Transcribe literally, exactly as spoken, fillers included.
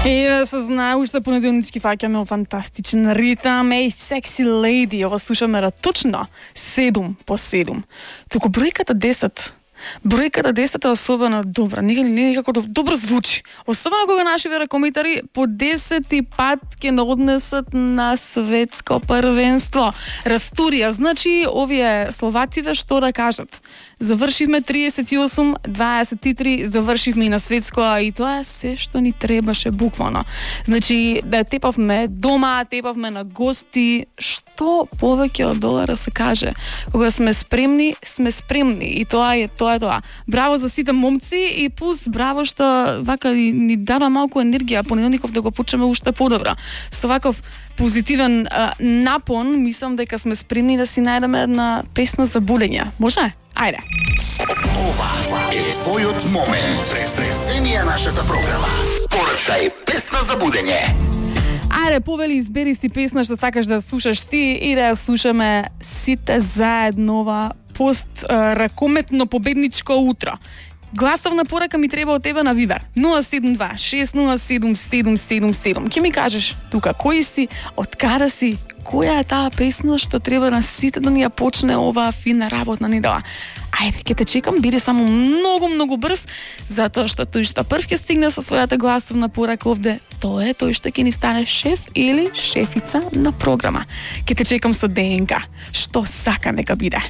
И се знае, уште понеделнички фаќаме о фантастичен ритам. Ей, секси леди, ова слушаме на точно седум по седум. Туку бројката десет, бројката десет е особено добра, некако некако добро звучи. Особено кога нашиве ракомитари по десети пат ќе не однесат на светско првенство. Растурија, значи овие словаците што да кажат. Завршивме триесет и осум дваесет и три, завршивме и на светско, а и тоа е се што ни требаше буквално. Значи, да тепавме дома, тепавме на гости, што повеќе од долара се каже. Кога сме спремни, сме спремни и тоа е тоа е тоа. Браво за сите момци и плюс браво што вака ни, ни дава малку енергија, понеделников да го почнеме уште подобро. Со ваков позитивен а, напон, мислам дека сме спремни да си најдеме една песна за будење. Може? Ајде. Ова е твојот момент. Преземи нашата програма. Порачај песна за будење. Ајде, повели, избери си песна што сакаш да слушаш ти и да ја слушаме сите заедно ова пост а, ракометно победничко утро. Гласовна порака ми треба од тебе на Вибер. нула седум два шест нула седум седум седум седум. Ке ми кажеш тука кој си, од каде си, која е таа песна што треба на сите да ни ја почне оваа фина работна недела. Ајде, ќе те чекам, биде само многу, многу брз, затоа што тој што прв ќе стигне со својата гласовна порака овде, тоа е тој што ќе ни стане шеф или шефица на програма. Ќе те чекам со ДНК. Што сака нека биде.